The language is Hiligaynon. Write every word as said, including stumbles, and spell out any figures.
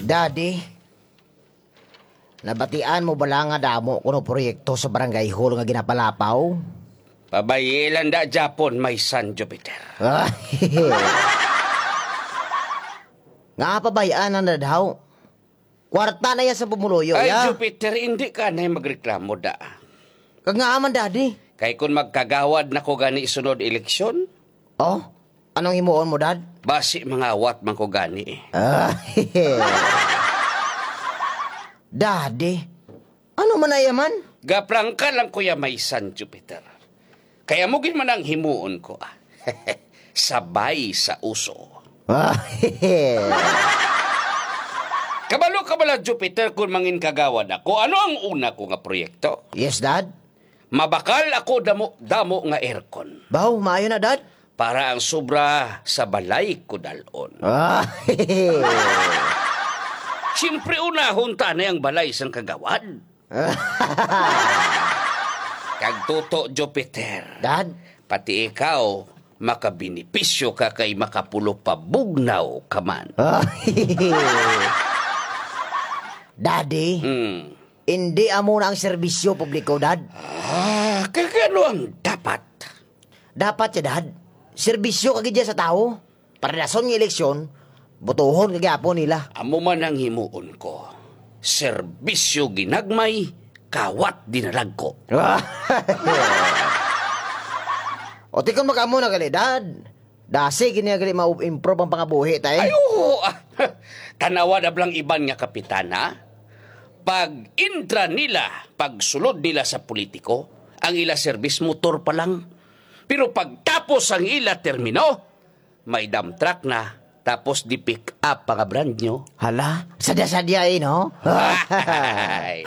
Daddy, nabatian mo bala nga damo kuno proyekto sa barangay hall nga ginapalapaw? Pabayi lang da, Japon, my son Jupiter. Nga pabayaan ang nadhaw. Kwarta na yan sa pumuluyo, Ay, ya. Jupiter, hindi ka na magreklamo, da. Kag nga man, Daddy. Kay kung magkagawad na ko gani sunod eleksyon, Oh? Anong himuon mo, Dad? Basi mangawat man ko gani, eh. Ah, Daddy, ano man na iya man? Gaprangka lang ko ya, my son Jupiter. Kaya mo gid man ang himuon ko, ah. Sabay sa uso. Ah, Kabalo ka bala, Jupiter, kung mangin kagawad ako, ano ang una ko nga proyekto? Yes, Dad. Mabakal ako damo-damo nga aircon. Baw, maayo na, Dad. Para ang sobra sa balay ko dalon. Ah, Siyempre, unahon ta na ang balay sang kagawad. Kag tuto, Jupiter. Dad? Pati ikaw, makabenepisyo ka kay makapulupabugnaw ka man. Ah, Daddy, Hmm. Hindi amo na ang serbisyo publiko, Dad. Ah, kag ano ang dapat? Dapat siya, Dad. Serbisyo ka gid sa tawo. Para dason nga eleksyon, botohon ka gyapon nila. Amo man ang himuon ko. Serbisyo ginagmay, kawat dinalagko. O, ti kon mag-amo na gali, Dad. Dasi gid niya gali ma-improve ang pangabuhi, tay. Ay, oo, ah. Tanawa na blang iban nga kapitan, ha? Pag intra nila, pagsulod nila sa politiko, ang ila service motor pa lang. Pero pagtapos ang ila termino, may dump truck na, tapos di pick up pa nga brand new. Hala, sadya-sadya, eh, no? Ay.